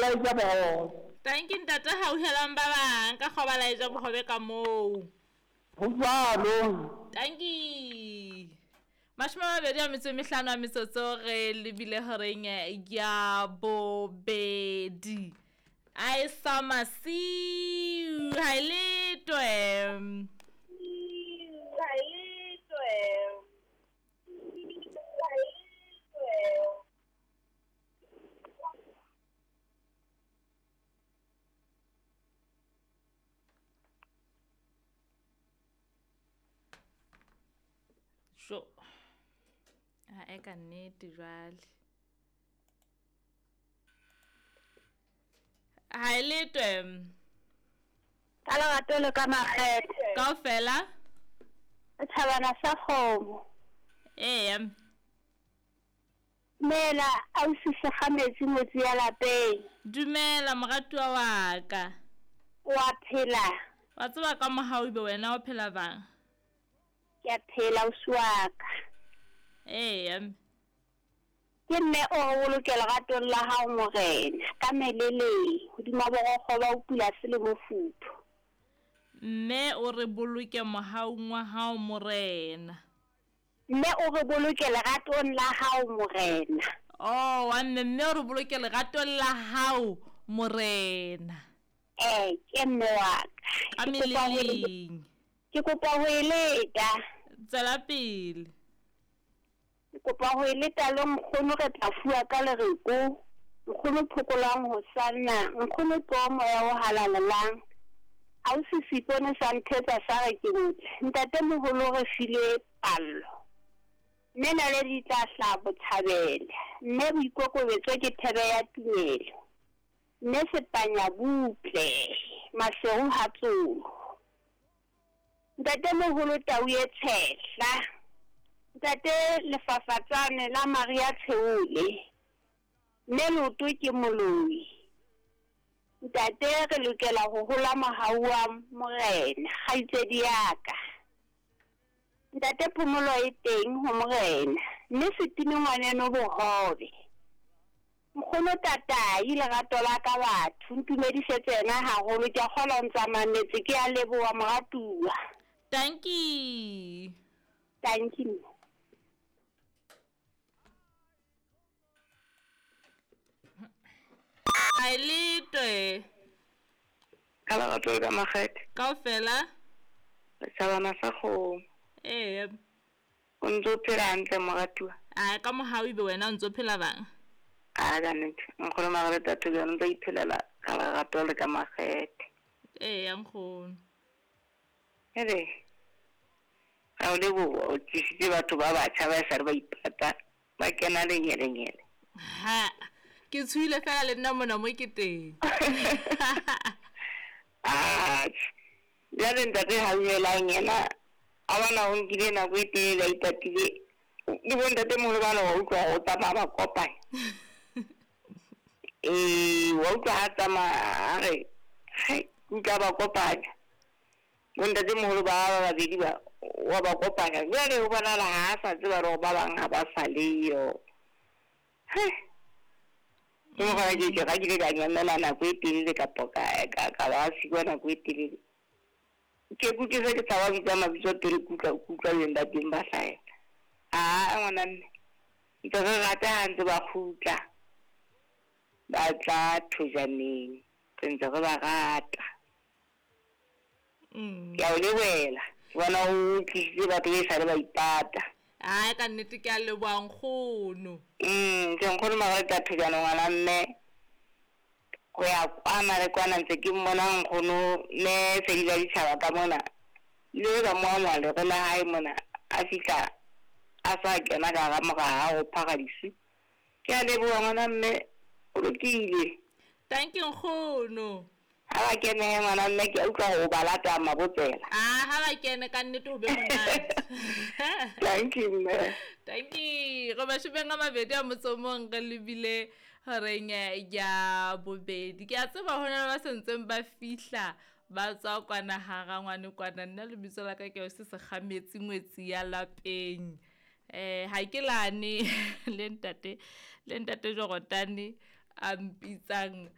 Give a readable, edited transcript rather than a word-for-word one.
La eja bohobe. Tanki ntate hauhelang ba bang ka kgoba la eja bohobe ka moo. Ho jwalo. Tanki. 25 a metsotso re lebile horeng ya bobedi. A e sa masiu ha e letwe. Ha e letwe. Ha e letwe. Jo. Ha e ka nnete jwale. Ha e letwe. Ka lerato le ka makgethe. Kaofela. Thabana sa kgomo. Eya. Dumela ausi Sekgametsi ngwetsi ya lapeng. Dumela moratuwa wa ka. Wa phela? Wa tseba ka mohau ebe wena o phela bang? Ke a phela ausi wa ka. Eya. Ke mme o re boloke leratong la hao morena ka meleleng hodima borokgo ba o pula se le mofuthu. Mme o re boloke mohaung wa hao morena. Mme o re boloke leratong la hao morena. Oh, wa mme mme o re boloke leratong la hao morena. Ke mme wa ka. Ka meleleng. Ke kopa ho e leta. Tswela pele. Ke kopa ho e leta le nkgono re tla fuwa ka lereko. Nkgono phokolang ho sanna, nkgono tlo moya o halalelang. Ausi Sipone sa nthetsa sa re ke motle. Ntate moholo re file pallo. Mme naledi tla hlaha botjhabela. Mme boikokobetso ke thebe ya tumelo. Mme sepanya butle, maseru ha tsolo. Ntate moholo tau e tshehla. Ntate lefafatsane la Maria Tsheole. Mme leoto ke moloi. Ntate re lokela ho hola mohau wa morena, kgaitsedi ya ka. Ntate phomolo e teng ho morena, mme setime ngwaneno bohobe. Nkgono tatai lerato la ka batho, ntumedisetse yena haholo, ke a kgolwa o ntsa mametse, ke a leboha moratuwa. Tanki. Tanki. Ha e letwe. Ka lerato le ka makgethe. Kaofela. Setjhabana sa kgomo. Eya. O ntso phela hantle moratuwa. A ka mohau ebe wena o ntso phela bang? A ka nnete. Nkgono Margaret Thobejane o ntso iphelela ka lerato le ka makgethe. Eya nkgono. Ere. Ga o leboha o tlisitse batho ba batjha ba sa re ba ipata ba kena lenyelenyele. Ha. Ke tshuile fela le nna mona mo ke teng. Ah. Jwale ntate hauhelang yena a bona o nkile nako e telele a ipatile. Le bo ntate moholo bana wa utlwa ho tsamaya ba kopanya. Wa utlwa ha tsamaya a re ke utlwa ba kopanya. Bo ntate moholo ba babedi ba wa ba kopanya. Jwale ho bonahala ha a sa tseba hore ba bang ha ba sa leyo. Ke mokgwa ke ke ga ke ile ka nyamela nako e telele kapa ka ba sikwa nako e telele. Ke kutlwe se ke tshaba bitsa mabitso pele kutlwa beng ba teng ba hlahela. Aa ngwana mme, ntse re rata ha ntse ba kgutla. Ba tla thojaneng, re ntse re ba rata. Ke a o lebohela, ke bona o tlisitse batho be sale ba ipata. Ai ka nnete ke a leboha nkgono. Ke nkgono Margaret Thobejane ngwana mme. Ho ya kwana le kwana ntse ke mmona nkgono mme Fedi la ditjhaba ka mona. Le ka mo amoha lere la hae mona a fihla a sa kena ka hara moraha ho phara disu. Ke a leboha ngwana mme o lokile. Thank you nkgono. Ha ba kene ngwana mme ke utlwa ho ba lata mabotsela. Ah ha ba kene ka nnete ho be monate. Thank you mme. Thank you. Re 22 a motsomong re lebile horeng ya bobedi. Ke a tseba hona le ba sentseng ba fihla ba tswa kwana hara ngwane kwana. Nna lebitso la ka ke se Sekgametsi ngwetsi ya lapeng. Ha ke lane le ntate Jorotane a mpitsang.